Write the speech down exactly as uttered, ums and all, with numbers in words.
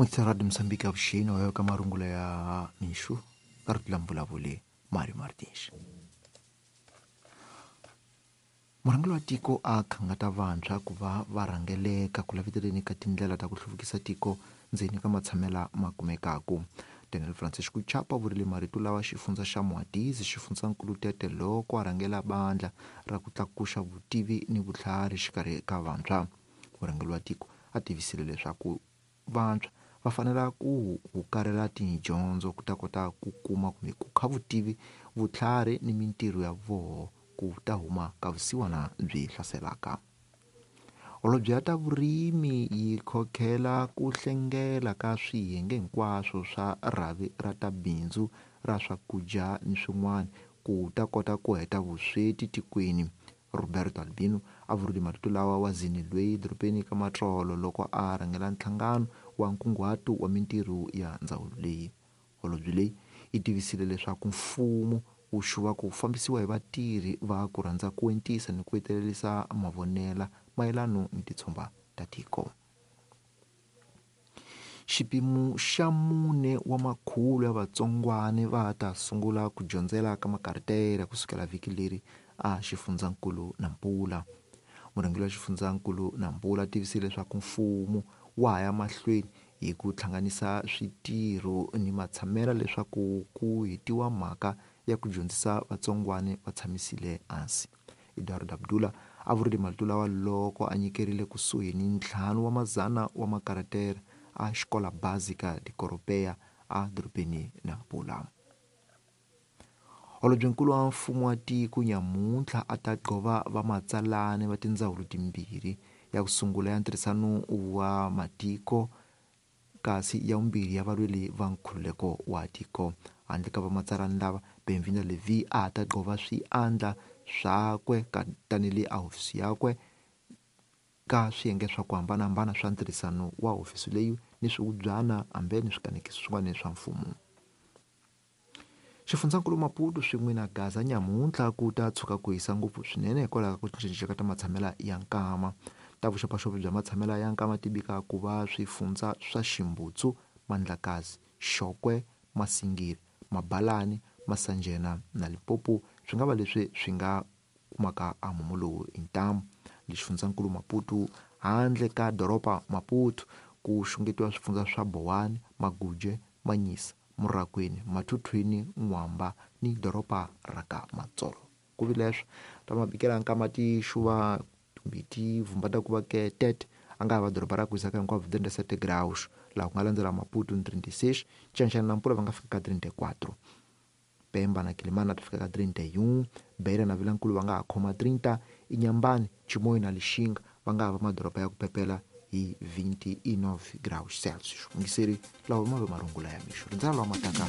N'wisa Radio Mozambique avuxeni wa ka marungula ya mixo ka rito la mvulavuli Mario Martins. Murhangeri wa tiko a khangata vantshwa ku va va rhangeleka ku laveteleni ka tindlela ta ku hluvukisa tiko ndzeni ka matshamela ma kumekaku. Daniel Francisco Chapa vurile marito lawa xifundza xa Mwadizi xifundzankulu Tete loko a rhangela bandla ra ku tlakuxa vutivi ni vutlhari xikarhi ka vantshwa. Murhangeri wa tiko a tivisile leswaku vantshwa va fanela ku hukarela tidyondzo ku ta kota ku kuma kumbe ku kha vutivi vutlhari ni mintirho ya voho ku ta huma ka vusiwana byi hlaselaka. Holobye ya ta vurimi yi khokhela ku hlengela ka swiyenge hinkwaswo swa rhavi ra ta bindzu ra swakudya ni swin'wana ku ta kota ku heta vusweti tikweni. Roberto Albino a vurile marito lawa wa zini lweyi dorobeni ka Matsolo loko a rhangela nhlangano wa nkunguhato wa mintirho ya ndzawulo leyi. Holobye leyi yi tivisile leswaku mfumo wu xuva ku fambisiwa hi vatirhi va ku rhandza ku entisa ni ku hetelerisa mavonela mayelano ni titshomba ta tiko. Xipimo xa mune wa makhulu ya vatsongwane va ta sungula ku dyondzela ka makaritela kusukela vhiki leri a xifundzankulu Nampula. Murhangeri wa xifundzankulu Nampula tivisile leswaku mfumo wa ha ya mahlweni hi ku hlanganisa switirho ni matshamela leswaku ku hetiwa mhaka ya ku dyondzisa vatsongwane va tshamisile hansi. Eduardo Abdullah a vurile marito lawa loko a nyikerile kusuhi ni ntlhanu wa mazana wa makaratera a xikola básica de Coropea a dorobeni Nampula. Holobyenkulu wa mfumo wa tiko nyamuntlha a ta gqova vamatsalani va tindzawulo timbirhi, ya ku sungula ya ntirhisano wa matiko kasi ya vumbirhi ya valweri va nkhululeko wa tiko. Handle ka vamatsalani lava, Benvinda Levi a ta gqova swiandla swakwe tanihi a hofisi yakwe ka swiyenge swa ku hambanahambana swa ntirhisano wa hofisi leyi ni swihubyana hambi ni swikanekiso swin'wana swa mfumo. Xifundzankulu Maputo swin'we na Gaza nyamuntlha ku ta tshuka ku hisa ngopfu swinene hikwalaho ka ku cincacinca ka ta matshamela ya nkama. Ta vuxopaxopi bya matshamela ya nkama ti bika ku va swifundza swa Ximbutsu, Mandlakazi, Xokwe, Masingiri, Mabalani, Masanjena na Limpopo swi nga va leswi swi nga kumaka a mumu lowu hi ntamu. Le xifundzankulu Maputo handle ka doroba Maputo ku xungetiwa swifundza swa Bowani, Maguje, Manyisa, Murakwini, Mathuthwini, N'wamba ni doroba ra ka Matsolo. Ku vi leswo ta mabikela nkama ti xuva kumbe ti vhumba ta ku va ke Tete a nga ha va doroba ra ku hisaka hinkwavo trinta e sete graus, laha ku nga landzela Maputo ni trinta e seis, Chanchana na Nampula va nga fika ka trinta e quatro. Pemba na Quelimane ti fika ka trinta e um, Beira na Vilankulu va nga ha khoma trinta, Inhambane, Chimoio na Lixinga va nga ha va madoroba ya ku pepela hi vinte e nove graus Celsius. Mungiseri lawa ma ve marungula ya mixo. Rindzela lawa mataka.